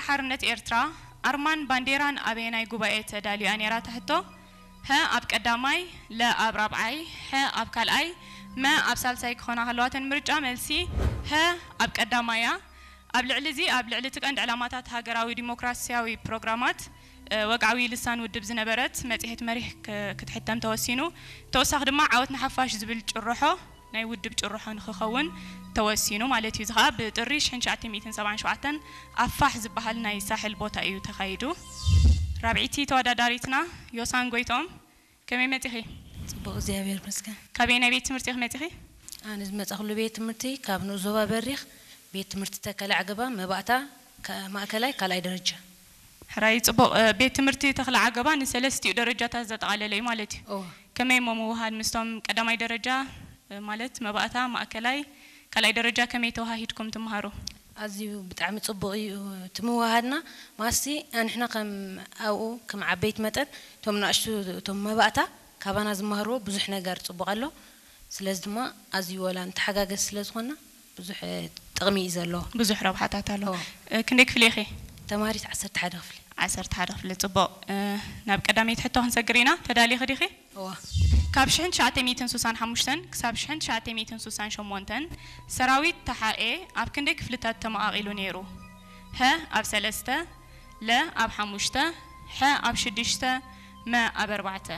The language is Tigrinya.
ሓርነት ኤርትራ ኣርማን ባንዴራን ኣበየናይ ጉባኤ ተዳልዩ እያ ነይራ? ትሕቶ። ሀ ኣብ ቀዳማይ፣ ለ ኣብ ራብዓይ፣ ሐ ኣብ ካልኣይ፣ መ ኣብ ሳልሳይ ክኾና ከለዋ እተን ምርጫ መልሲ ሀ ኣብ ቀዳማይ እያ። ኣብ ልዕሊ እዚ ኣብ ልዕሊ እቲ ቀንዲ ዕላማታት ሃገራዊ ዲሞክራሲያዊ ፕሮግራማት ወግዓዊ ልሳን ውድብ ዝነበረት መጽሔት መሪሕ ክትሕተም ተወሲኑ። ተወሳኺ ድማ ዓወት ንሓፋሽ ዝብል ጭርሖ ናይ ውድብ ጭርሖ ንክኸውን ተወሲኑ ማለት እዩ። እዚ ከዓ ብጥሪ ሽሕን ትሽዓተ ሚእትን ሰብዓን ሸውዓተን ኣብ ፋሕ ዝበሃል ናይ ሳሕል ቦታ እዩ ተኻይዱ። ራብዒቲ ተወዳዳሪትና ዮሳን ጎይቶም፣ ከመይ መጺኺ? ጽቡቕ እግዚኣብሔር ይመስገን። ካበይ ናይ ቤት ትምህርቲ ኢኺ መጺኺ? ኣነ ዝመጻኹሉ ቤት ትምህርቲ ካብ ንኡስ ዞባ በሪኽ ቤት ትምህርቲ ተከለ ዓገባ መባእታ ማእከላይ ካልኣይ ደረጃ። ሕራይ ጽቡቕ። ቤት ትምህርቲ ተኽለ ዓገባ ንሰለስቲኡ ደረጃታት ዘጠቓለለ እዩ ማለት እዩ። ከመይ እሞ ምውሃድ ምስቶም ቀዳማይ ደረጃ ማለት መባእታ፣ ማእከላይ፣ ካልኣይ ደረጃ ከመይ ተወሃሂድኩም ትመሃሩ? ኣዝዩ ብጣዕሚ ጽቡቕ እዩ እቲ ምውሃድና። ማስቲ ኣንሕና ከም ኣብኡ ከም ዓበይቲ መጠን እቶም ንኣሽቱ እቶም መባእታ ካባና ዝመሃርዎ ብዙሕ ነገር ጽቡቕ ኣሎ። ስለዚ ድማ ኣዝዩ ወላ ንተሓጋገዝ ስለ ዝኾንና ብዙሕ ጥቕሚ እዩ ዘለዎ። ብዙሕ ረብሓታት ኣለዎ። ክንደይ ክፍሊ ኢኺ? ተማሃሪት ዓሰርተ ሓደ ክፍሊ። ዓሰርተ ሓደ ክፍሊ። ጽቡቕ። ናብ ቀዳመይቲ ሕቶ ክንሰግር ኢና። ተዳሊኺ ዲኺ? እዋ። ካብ ሽሕን ትሽዓተ ሚእትን ስሳን ሓሙሽተን ክሳብ ሽሕን ትሽዓተ ሚእትን ስሳን ሸሞንተን ሰራዊት ተሓኤ ኣብ ክንደይ ክፍልታት ተመቓቒሉ ነይሩ? ሀ ኣብ ሰለስተ፣ ለ ኣብ ሓሙሽተ፣ ሐ ኣብ ሽዱሽተ፣ መ ኣብ ኣርባዕተ።